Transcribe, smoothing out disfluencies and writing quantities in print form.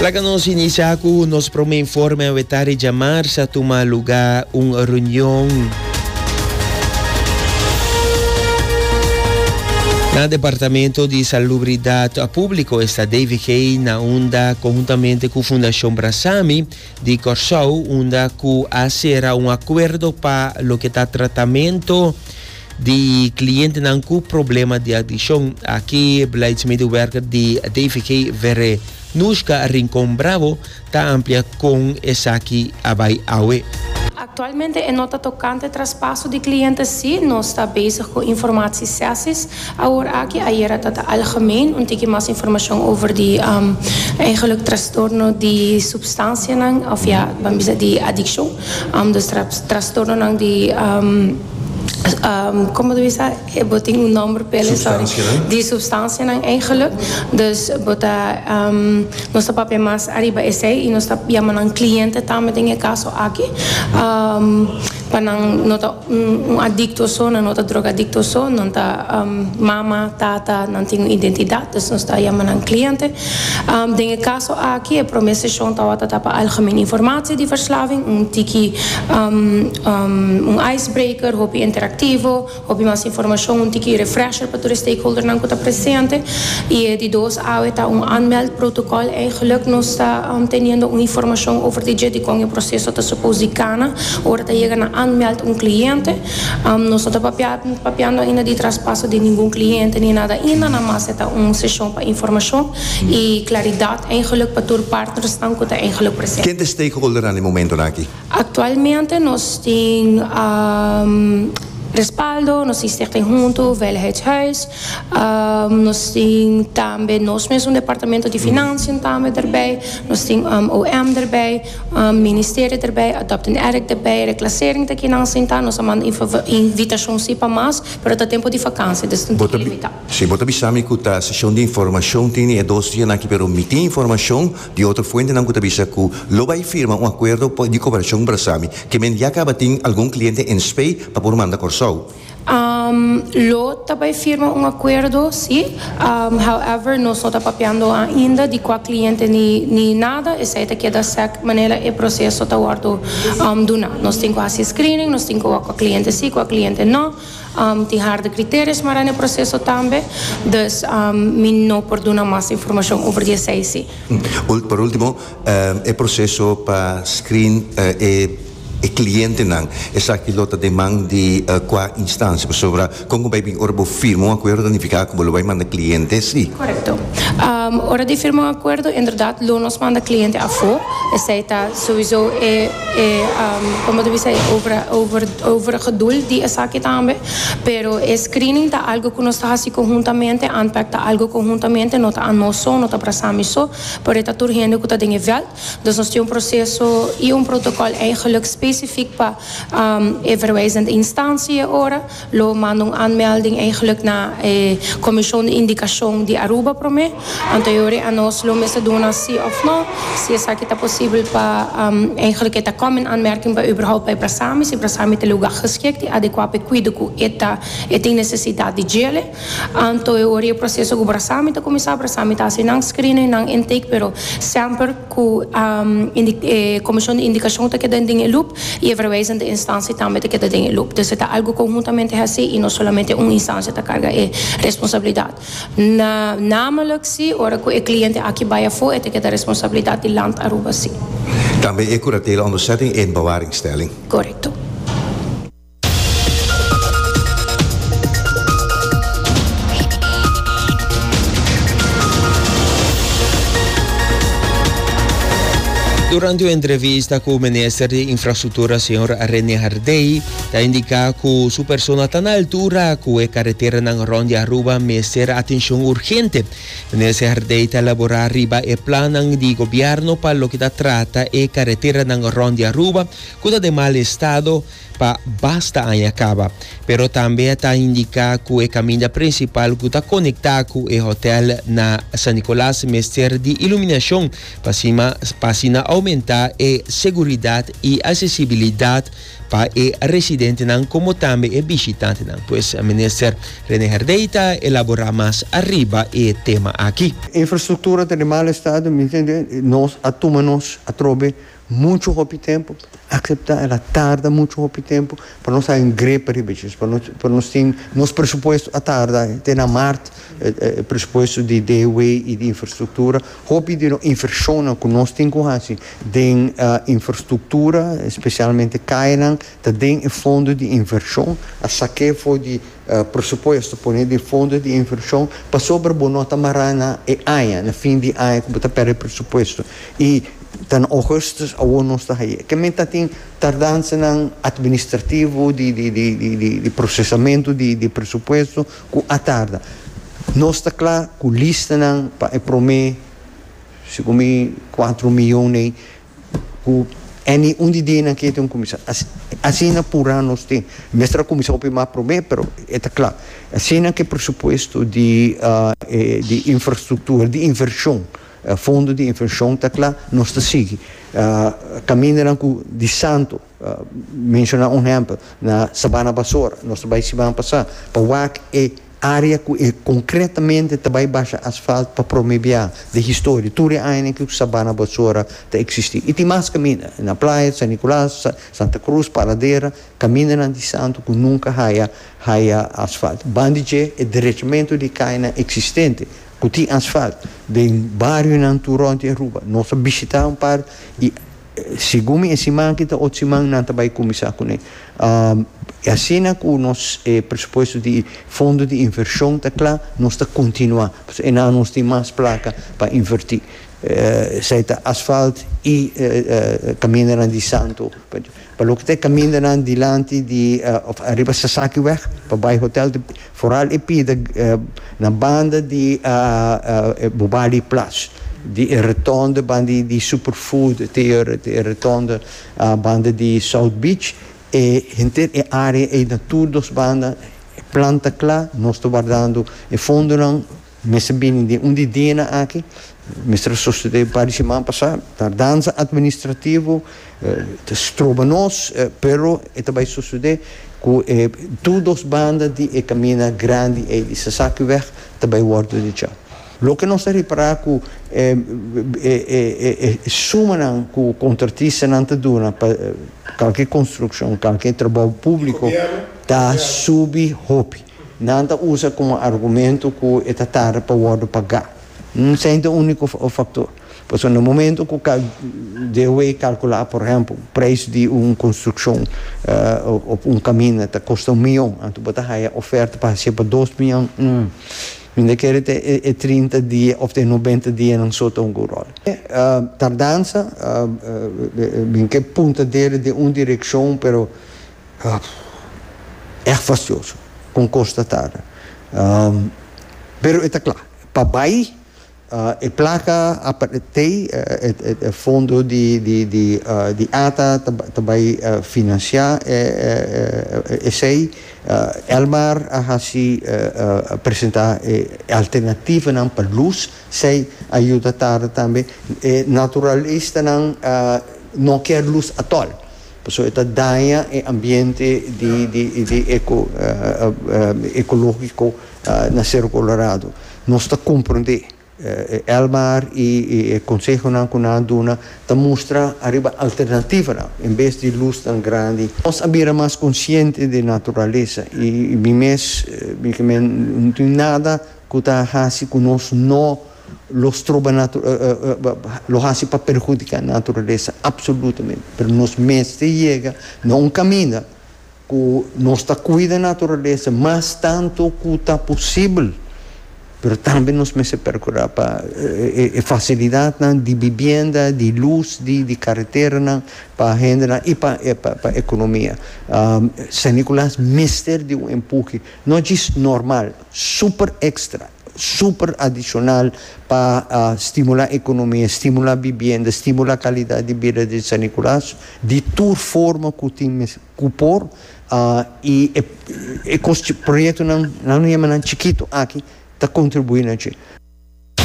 Laga nos inicia cu nos prome informe awe tardi djamars a tuma luga un reunion na Departamento di Salubridad Publico, esta DVG, na unda conhuntamente cu Fundacion Brasami di Corsou, unda cu a cera un acuerdo pa loke ta tratamento di clientenan cu problema di adiccion. Aki beleidsmedewerker di DVG Verenushka Rincon Bravo ta amplia con esaki a bay awe. Actualmente e no ta tocante traspaso di cliente si, nos ta bezig cu informatie sessies awor aki, ayera ta ta algemeen un tiki mas informacion over di eigenlijk trastorno di substancianan of ja ban bisa di adiccion, dus trastornonan di. Como ta bisa e bo tin un nomber p'el sorry di substancianan eigenlijk dus bo ta nos ta papia mas ariba esey y nos ta yama nan cliente tambe den e caso aki pa nan no ta un adicto so nan no ta drogadicto so nan ta mama tata nan tin un identidad dus nos ta yama nan cliente den e caso aki e prome sesion tawata ta pa algemeen informatie di verslaving un tiki Un icebreaker, hopi interactivo, hopi mas informacion, un tiki refresher pa tur e stakeholdernan cu ta presente. Y e di dos awe ta un aanmeldprotocol. Eigenlijk nos ta teniendo un informacion over di dje di con e proceso ta suppose di cana ora ta yega na aanmeld un cliente. Nos no ta papiando ainda di traspaso di ningun cliente ni nada ainda, na mas e ta un sesion pa informacion y claridad eigenlijk pa tur partnersnan cu ta eigenlijk presente. Ken ta e stakeholdernan e momentonan aki? Actualmente nos tin Respaldo, nos tin Stichting Hunto, Veiligheidshuis, nos tin tambe nos mesun departamento di Financiën tambe erbij, nos tin OM erbij, Ministerio erbij, Adopt an Addict erbij, Reclassering ta kinan sinta, nos a manda invitacion si pa mas, pero ta tempo di vakantie, dus ta un tiki limita. Si, bo ta bisa mi cu ta sesion di informacion tin e dos dianan aki, pero mi tin informacion Di otro fuentenan ku ta bisa ku lo bai firma un akuerdo di koperashon Brasami, ke men ya kaba tin algun kliente en spei pa por manda Kòrsou. Lo ta bai firma un akuerdo, si. However, nos no ta papiando ainda di kua kliente ni ni nada. Esei ta keda sèk manera e proseso ta wòrdu duna. Nos tin ku hasi screening, nos tin ku wak kua kliente si, kua kliente no. Tin harde criterios mara na e proceso tambe, dus mi no por duna mas informacion over di esey si. Por ultimo, e proceso pa screen e clientenan, esaki lo ta den man di cua instancia? Pasobra con cu bay bin ora bo firma un acuerdo ta nifica cu bo lo bay manda cliente si? Correcto. Ora di firma un acuerdo, inderdaad lo nos manda cliente afo, esey ta souiso e. E como ta bisa e over over overige doel di esaki tambe, pero e screening ta algo cu nos ta haci conhuntamente, ANPAC ta algo conhuntamente, no ta anos so, no ta Brasami so, pero e ta tur hende cu ta den e veld. Dus nos tin un proceso y un protocol eigenlijk specifiek pa e verwijzende instantie e ora. Lo manda un aanmelding eigenlijk na e Comision di Indicacion di Aruba prome. Anto e ora anos lo mester duna si of no, si esaki ta posibel pa eigenlijk e ta come in aanmerking pa überhaupt bay Brasami, si Brasami ta lugar geschikt y adecua pa e cuido cu e ta e tin necesidad di djele. Anto e ora e proceso cu Brasami ta cuminsa, Brasami ta haci nan screening, nan intake, pero semper cu e Comision di Indicacion ta keda den e loop y e verwijzende instantie tambe ta keda den e loop. Dus e ta algo conhuntamente haci y no solamente un instancia ta carga e responsabilidad. Na namelijk si ora cu e cliente aki bay afo e ta keda responsabilidad di Land Aruba si. Tambe e curatela onderzetting en bewaringstelling. Correcto. Durante un entrevista cu Minister di Infrastructura señor Rene Hardey ta indica cu su persona ta na altura cu e carreteranan rond di Aruba mester atencion urgente. Minister Hardey ta elabora riba e plannan di gobierno pa loke ta trata e carreteranan rond di Aruba cu ta den mal estado pa basta aña caba. Pero tambe ta indica cu e caminda principal cu ta conecta cu e hotel na San Nicolas mester di iluminacion pa asina aumenta e seguridad y accesibilidad. pa e residentenan como tambe e bishitantenan. Pues Minister Rene Herdey ta elabora mas ariba e tema aki. Infrastructura ta den mal estado, mi ntende, nos a tuma nos atrobe Mucho hopi tempu, acepta el a tarda mucho hopi tempu pa nos haña un grip riba dje, pa nos pa nos tin nos presupuesto a tarda te na mart e presupuesto di DW y di infrastructura, hopi di nos inversionnan cu nos tin cu haci den infrastructura, especialmente cayanan, ta den e fondo di inversion, a saké for di presupuesto pone den fondo di inversion pasobra bo no ta mará na e aña, na fin di aña cu bo ta perde presupuesto y Ta na augustus awor nos ta haye. Ke men ta tin tardansanan administrativo di di di di di di procesamento di di presupuesto cu a tarda. Nos ta cla cu listanan pa e prome segun mi cuatro miyon ey cu any un di dianan ke tin cuminsa. Asina pura nos tin. Mester a cuminsa hopi mas prome pero e ta cla. Asina ke presupuesto di di infrastructura di inversion. Fondo di invershon ta kla, nos ta sigui. Kamindanan ku di santu, menshoná un ehèmpel, na Sabana Basora, nos ta bai siman pasá pa wak e área ku e konkretamente ta bai basha asfalt pa promé bia den historia, tur e añanan ku Sabana Basora ta eksistí. I tin mas kaminda, na Playa, San Nicolas, Santa Cruz, Paradera, kamindanan di santu ku nunka haya haya asfalt. Banda di dje e derechamentu di kayanan eksistente. Ku tin asfalt den barionan tur rònt di Aruba. Nos a bishitá un par i segun mi e siman aki ta otro siman nan ta bai kuminsá kuné. I asina ku nos e presupuesto di fondo di invershon ta kla, nos ta kontinuá. Pasobra enan nos tin mas plaka pa invertí. Esei ta asfalt i kamindanan di santu. Pa loke ta e kamindanan dilanti di òf ariba Sasakiweg pa bai hotel Foral e pida na banda di Bubali Plas, di e rotonde banda di Superfood te e rotonde banda di South Beach, e henter e area ei na tur dos banda e plan ta kla, nos ta wardando e fondonan. Mester bini den un di dianan aki, mester a sosode un par di siman pasá. Tardansa administrativo ta stroba nos, pero e ta bai sosode ku e tur dos banda di e kaminda grandi ei di Sasakiweg ta bai wòrdu dechá. Loke nos ta ripará ku e sumanan ku kontratistanan ta duna pa kalke konstrukshon, kalke trabou públiko ta subi hopi. Nan ta usa komo argumento ku e ta tarda pa wòrdu pagá. Esei ta úniko faktor. Pasobra na momento ku DOW kalkulá, por ehèmpel, preis di un konstrukshon òf un kaminda ta kosta un mion, anto bo ta haya oferta pa hasié pa dos mion, mi ta kere ta e 30 dia òf ta e 90 dianan so ta hunga un ròl. Tardansa, mi ke punta dede den un direkshon, pero. Echt fastioso con cos ta tarda. Pero e ta cla. Pa bay e placa t'ey, e fondo di ata ta bay financia esey. Elmar a haci presenta e alternativanan pa luz. Esey a yuda tarda tambe. E naturalistanan no kier luz atol. Pasobra e ta daña e ambiente di di di eco ecológico na Cerro Colorado. Nos ta comprende Elmar y e consehonan cu nan a duna ta mustra ariba alternativanan en bes di luznan grandi. Nos a bira mas consciente di naturalesa y mi mes mi ke men no tin nada cu ta haci cu nos no Lo stroba lo hasi pa perhudiká naturalesa? Absolutamente. Pero nos mester yega na un kaminda ku nos ta kuida naturalesa mas tantu ku ta posibel, pero tambe nos mester perkurá pa e fasilidatnan di bibienda, di lus, di kareteranan pa hendenan i pa ekonomia. San Nicolas mester di un empuhe, no djis normal, super extra. super adishonal pa stimulá ekonomia, stimulá bibienda, stimulá kalidat di bida di San Nicolas di tur forma ku tin ku por i e kos proyektonan nan yama nan chikitu aki ta kontribuí na dje.